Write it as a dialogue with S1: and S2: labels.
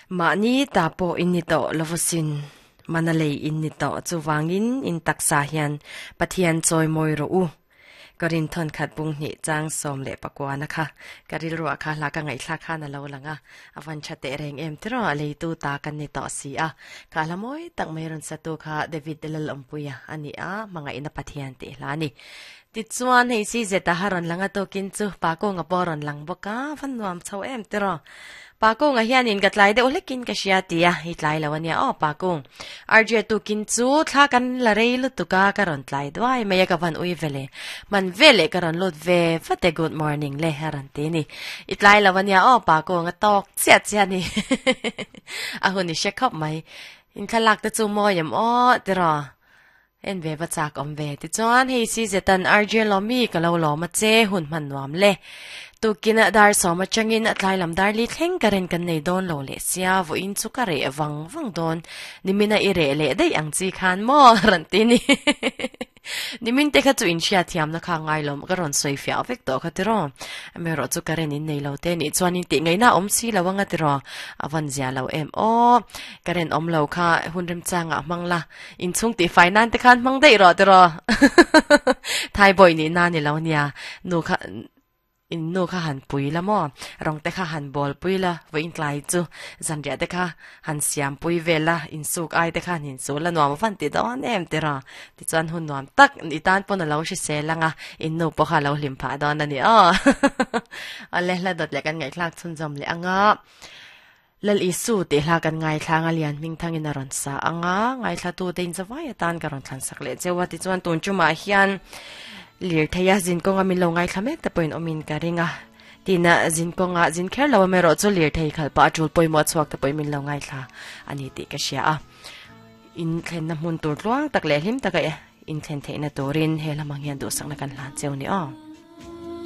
S1: Mahni ta pawh in ni tawh lo vasin, mana lei in ni tawh chuvangin in taksa hian Pathian chawimawi rawh u. Ka rin thawn khat bung hnih chang 19 na kha ka rilruah kha hla ka ngaihthlak khan a lo lang a, a van tha teh reng em tiraw a leitu ta kan ni tawh si a. Kha hla mawi tak mai rawn satu kha David Lalawmpuia a ni a, hmangaihna Pathian tih hla a ni. Tichuan hei si zeta ha rawn lang a tawkin chu Pa Kawnga pawh a rawn lang bawk a, van nuam chho em tiraw. Pa Kawnga hianin ka tlai deuh hlekin ka hria ti a, i tlai lo ania aw Pa Kawng. RJ tukin chu thla kan la rei lutuk a, ka rawn tlai duai mai a ka van ui ve le. Hman ve leh ka rawn lut ve vat e good morning le a rawn ti ni. I tlai lo ania aw Pa Kawnga tawk chiah chiah a ni. A hun i hre khawp mai. Inthlalak te chu mawi em aw tiraw. En ve va chak awm ve. Tichuan, hei si Zetan RJ Lawmi ka lo lawm a che, hun hman nuam le. Tukin dar sawm atangin a tlai lam dar li thleng ka ren kan nei dawn lo leh sia, vawiin chu ka reh vang vang dawn. Nimina i reh leh daih ang chi khan maw? Rawn ti ni. Nimin te kha chu inhriat thiamna kha ngai lo, ka rawn sawi fiah vek tawh kha tiraw. Amaherawh chu ka ren in nei lo te nih chuan in tih ngaihna a awm si lo anga tiraw. A van zia lo em aw. Ka ren awm lo kha hun remchangah hmang la. Inchhung tih fai nan te khan hmang daih rawh tiraw. Thai bawi nih na ni lo nia. Nu kha in nu kha han pui la maw. Rawng te kha han bawl pui la. Vawiin tlai chu zanriah te kha han siam pui vel la. Insuk ai te kha han insu la nuam van ti dawn em tiraw. Tichuan hun nuam tak i tan pawn a lo hrisel ang a. In nu pawh kha a lo hlim phah dawn a ni aw. Awle hla dawt leh kan ngaihthlak chhunzawm leh ang a. Lal Isu tih hla kan ngaithla anga Lian Hmingthangin a rawn sa anga ngaithlatute in zavai atan ka rawn thlansak leh cheu a. Tichuan tun tumah hian lirtheia zin kawnga min lo ngaithla mek te pawhin awmin ka ring a. Tina zin kawnga zin kher lo amaherawh chu lirthei khalh pah a tul pawimawh chhuak te pawhin min lo ngaithla a ni tih ka hria a. In thlenna hmun tur tluang tak leh hlim taka in thlen theihna turin he lamang hian duhsakna kan hlan cheu ni aw.